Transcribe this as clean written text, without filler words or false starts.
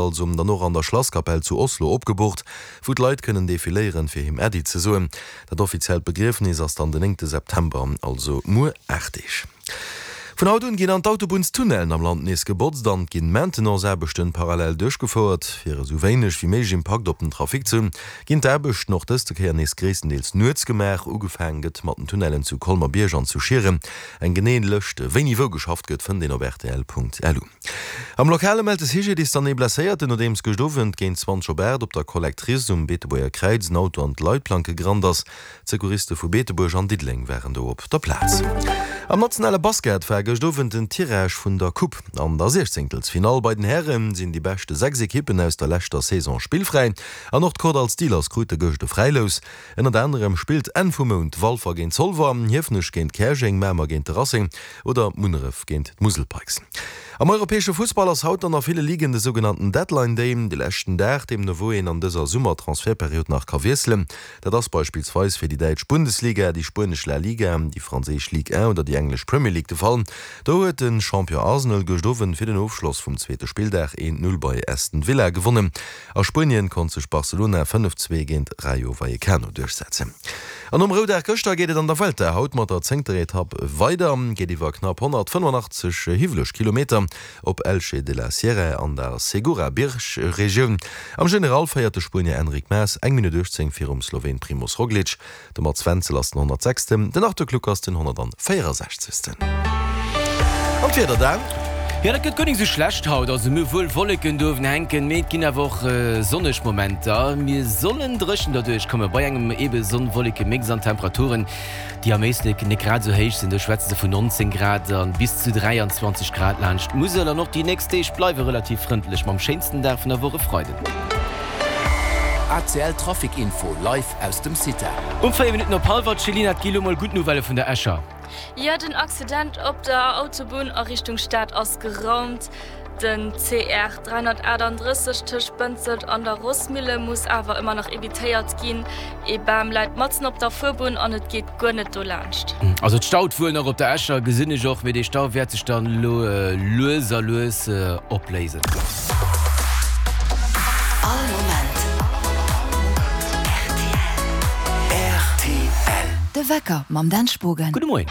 Also dann och an der Schlasskapell zu Oslo opgeboort, wou d'Leit kënnen defiléieren, fir him Äddi ze soen. Dat offiziellt Begriefnis ass dann den néngte September, also muer 8 Deeg. Vun haut un ginn an d'Autobunnstunnellen am Land nees gebotzt an et ginn Maintenance-Aarbechten parallel duerchgefouert. Fir esou wéineg wéi méiglech Impakt op den Trafic ze hunn, ginn d'Aarbechten och dëste Kéier nees gréisstendeels nuets gemaach. Ugefaang gëtt mat den Tunnellen zu Colmer-Bierg an zu Schieren. Eng genee Lëscht, wéini wou geschafft gëtt, fënnt een op rtl.lu. Am Lokale mellt de CGDIS dann ee Blesséierten, nodeems gëscht Owend géint 20 op 8 op der Collectrice um Beetebuerger Kräiz en Auto an d'Leitplanke gerannt ass. D'Secouriste vu Beetebuerg an Diddeleng waren do op der Plaz. Am nationale Basket war gëscht Owend den Tirage vun der Coupe. An der Siechzéngtelsfinall bei den Häre sinn déi beschte 6 Ekippen aus der leschter Saison spillfräi an och d'Kordall Steelers krute gëscht e Fräilous. Ënnert anerem spillt Enn vum Mount Walfer géint Zolwer, Hiefenech géint Käerjeng, Mamer géint de Racing oder Munneref géint d'Musel Pikes. Am europäesche Fussball ass haut dann a ville Ligen de sougenannten Deadline Day, de leschten Dag, deemno wou een an dëser Summer-Transfertperiod nach ka wiesselen. Dat ass beispillsweis fir déi däitsch Bundesliga, déi spuenesch La Liga, déi franséisch Ligue 1 oder déi englesch Premier League de Fall. Do huet de Champion Arsenal gëscht Owend fir den Ofschloss vum zweete Spilldag 1, 0 bei Aston Villa gewonnen. A Spuenien konnt sech Barcelona 5, 2 géint Rayo Vallecano duerchsetzen. An nom Roudag gëschter geet et an der Vuelta haut mat der zéngter Etapp weider. Geet iwwer knapp 185 hiwweleg Kilometer op Elche de la Sierra an der Segura-Biergregioun. Am General féiert de Spuenier Enric Mas eng Minutt 18 virum Sloween Primoz Roglic. De Mats Wenzel ass den 106. Den Arthur Kluck ass den 164. An d'Wieder dann? Jo, dat gëtt guer nik sou schlecht haut. Also mir hu wuel Wolleken do uewen hänken, mee et ginn awer och sonneg Momenter. Mir sollen dréchen derduerch komme bei engem ebe Sonn-Wolleke-Mix an Temperaturen, déi am Éislek nik grad sou héich sinn. Do schwätze se vun 19 Grad an bis zu 23 Grad laanscht d'Musel. An och déi nächst Deeg bleiwe relativ frëndlech, mam schéinsten Dag vun der Woch e Freiden. ACL Trafic Info live aus dem CITA. Um 4 Minutten op hallwer, d'Chelina, et gi lo mol gutt Nouvellë vun der Escher. Jo, den Accident op der Autobunn a Richtung Stad ass geraumt. Den CR 338 tëscht Bënzelt an der Rossmille muss awer ëmmer nach evitéiert ginn. Ee Bam läit matzen op der Fuerbunn an et geet guer net dolaanscht. Also et staut wuel nach op der Escher, gesinn ech och, mee dee Stau wäert sech dann elo lues a lues opléisen. All Moment rtl. De Wecker mam Dan Spogen. Gudde Moien.